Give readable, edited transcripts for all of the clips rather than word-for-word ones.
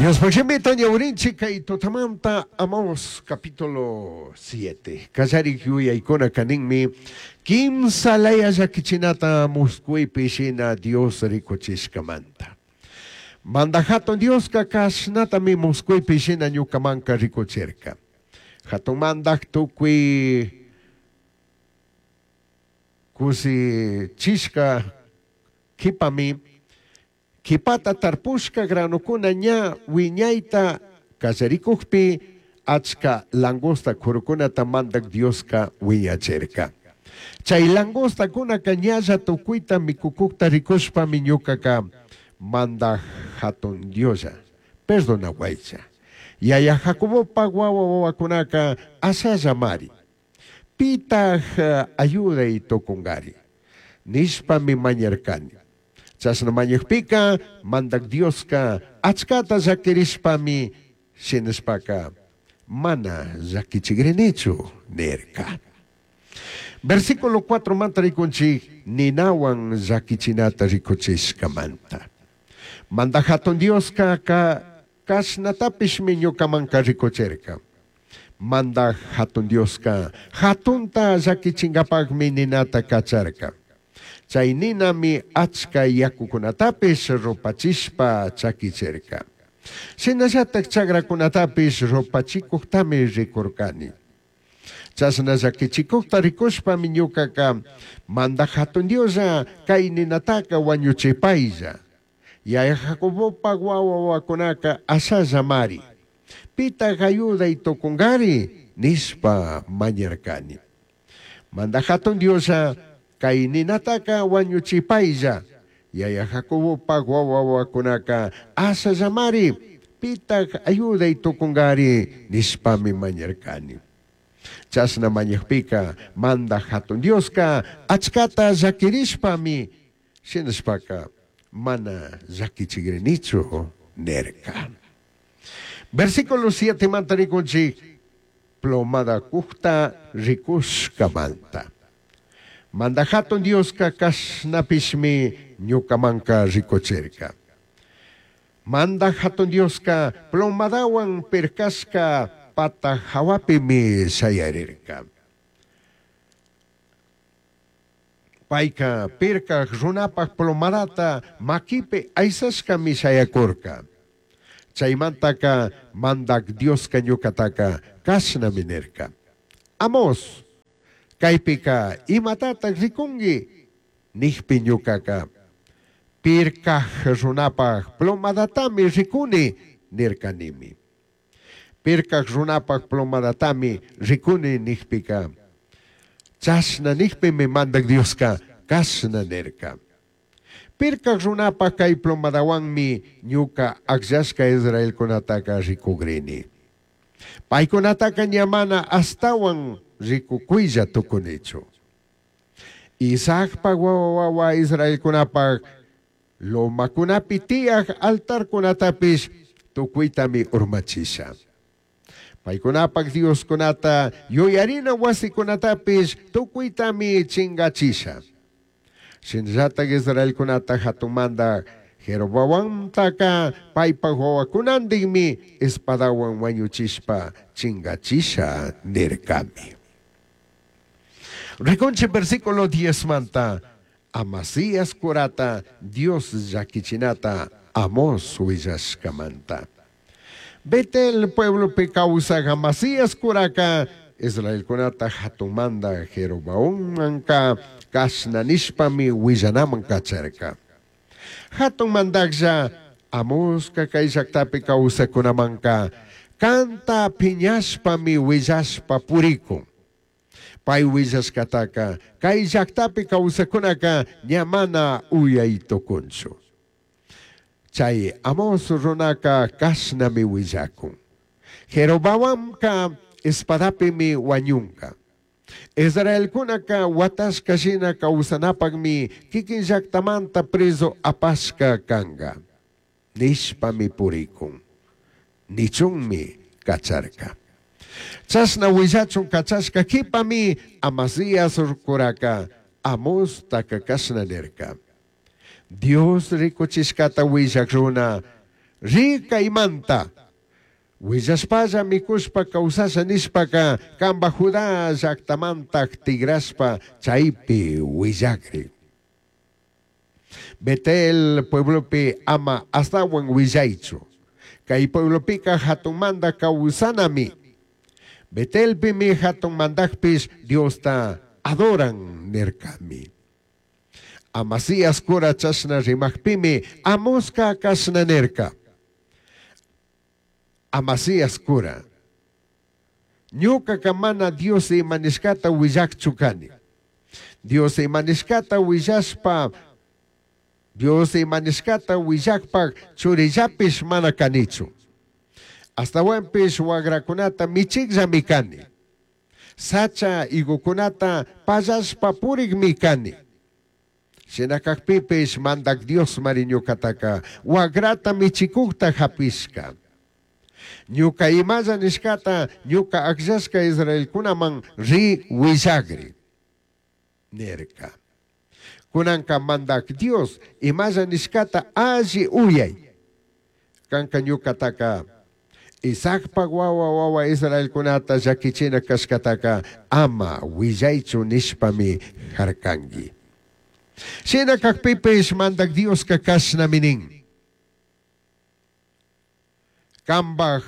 Diospaj shimita ñawirinchik kay tutamanta Amós capítulo 7. Kallarik yuyaykunaka ninmi kimsa laya llakichinata muscuipi shina Dios rikuchishkamanta. Mandaj Jatun Dioska kashnatami muscuipi shina ñukamanka rikuchirka. Jatun mandaj tukuy kushichishka kipami Q'uipata tarpushca granocuna ña huiñaita callaricujpi, achca langosta curucunata Mandaj Diosca huiñachirca. Chai langostacunaca ñalla tucuita micucujta ricushpami ñucaca, Mandaj Jatun Dioslla, perdonahuaicha. Yaya Jacobopaj huahua huahuacunaca ashallamari. Pitaj ayudai tucungari? nishpami mañarcani. Chashna mañajpica Mandaj Diosca achcata llaquirishpami shinashpaca, Mana llaquichigrinichu nirca. Versículo cuatromanta ricunchij ninahuan llaquichinata ricuchishcamanta. Mandaj Jatun Diosca cashnatapishmi ñucamanca ricuchirca. Mandaj Jatun Diosca jatunta llaquichingapajmi ninata cacharca. Chai ninami achca yacucunatapish rupachishpa chaquichirca. Shinallataj chagracunatapish rupachicujtami ricurcani. Chashna llaquichicujta ricushpami ñucaca, Mandaj Jatun Dioslla, cai ninataca huañuchipailla. Yaya Jacobopaj huahua huahuacunaca ashallamari. Pitaj ayudai tucungari? nishpa mañarcani. Mandaj Jatun Dioslla, cai ninataca huañuchipailla. Yaya Jacobopaj huahua huahuacunaca ashallamari. Pitaj ayudai tucungari? nishpami mañarcani. Chashna mañajpica Mandaj Jatun Diosca achcata llaquirishpami shinashpaca mana llaquichigrinichu nirca. Versículo sietemanta ricunchij plomada cujta ricushcamanta. Mandaj Jatun Diosca cashnapishmi ñucamanca ricuchirca. Mandaj Jatun Diosca plomadahuan pircashca pata jahuapimi shayarirca. Paica pircaj runapaj plomadata maquipi aisashcami shayacurca. Chaimantaca Mandaj Diosca ñucataca cashnami nirca, Amós, caipica imatataj ricungui? nijpi ñucaca, Pircaj runapaj plomadatami ricuni nircanimi. Pircaj runapaj plomadatami ricuni nijpica, chashna nijpimi Mandaj Diosca cashna nirca, Pircaj runapaj cai plomadahuanmi ñuca agllashca israelcunataca ricugrini. Paicunataca ña mana ashtahuan ricucuilla tucunichu. Isaacpaj huahua huahua israelcunapaj Lomacunapi tiyaj altarcunatapish tucuitami urmachisha. Paicunapaj dioscunata yuyarina huasicunatapish tucuitami chingachisha. Shinallataj israelcunata jatun mandaj Jeroboamtaca paipaj huahuacunandijmi espadahuan huañuchishpa chingachisha nircami. Ricunchij versículo diezmanta Amasías curata Dios llaquichinata Amós huillashcamanta. Betel pueblopi causaj Amasías curaca israelcunata jatun mandaj Jeroboammanca cashna nishpami huillanaman cacharca. Jatun mandajlla Amosca cai llajtapi causajcunamanca canta piñashpami huillashpa puricun. Pai huillashcataca cai llajtapi causajcunaca ña mana uyai tucunchu. Chai Amós runaca cashnami huillacun, Jeroboamca espadapimi huañunga. Israelcunaca huatashca shina causanapajmi quiquin llajtamanta prezu apashca canga nishpami puricun nichunmi cacharca. Chashna huillachun cachashca quipami Amasías curaca Amostaca cashna nirca, Dios ricuchishcata huillaj runa, Ri caimanta. Huillashpalla micushpa causasha nishpaca cambaj Judá llajtamantaj tigrashpa chaipi huillagri. Betel pueblopi ama ashtahuan huillaichu. Cai pueblopica jatunmanta causanami. Betelpimi jatun mandajpish Diosta adoran nircami. Amasías cura chashna rimajpimi Amosca cashna nirca. Amasías cura, ñucaca mana Dios ima nishcata huillajchu cani. Dios ima nishcata huillashpa, Dios ima nishcata huillajpaj churillapish mana canichu. Ashtahuanpish huagracunata michijllami cani. Sacha higocunata pallashpa purijmi cani. Shina cajpipish Mandaj Diosmari ñucataca huagrata michicujta japishca. Ñuca imalla nishcata ñuca agllashca israelcunaman ri huillagri, nirca. Cunanca Mandaj Dios imalla nishcata alli uyai. Canca ñucataca Isaacpaj huahua huahua israelcunata llaquichina cashcataca ama huillaichu nishpami jarcangui. Shina cajpipish Mandaj Diosca cashnami nin. Cambaj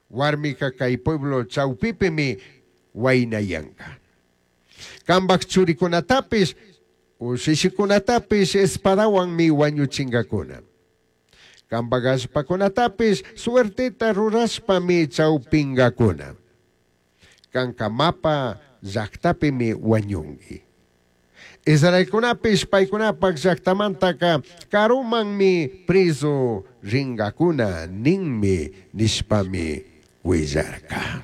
huarmica cai pueblo chaupipimi huainayanga. Cambaj churicunatapish, ushishicunatapish espadahuanmi huañuchingacuna. Cambaj allpacunatapish suerteta rurashpami chaupingacuna. Canca mapa llajtapimi huañungui. Israelcunapish paicunapaj llajtamantaca carumanmi prezu ringacuna ninmi nishpami huillarca.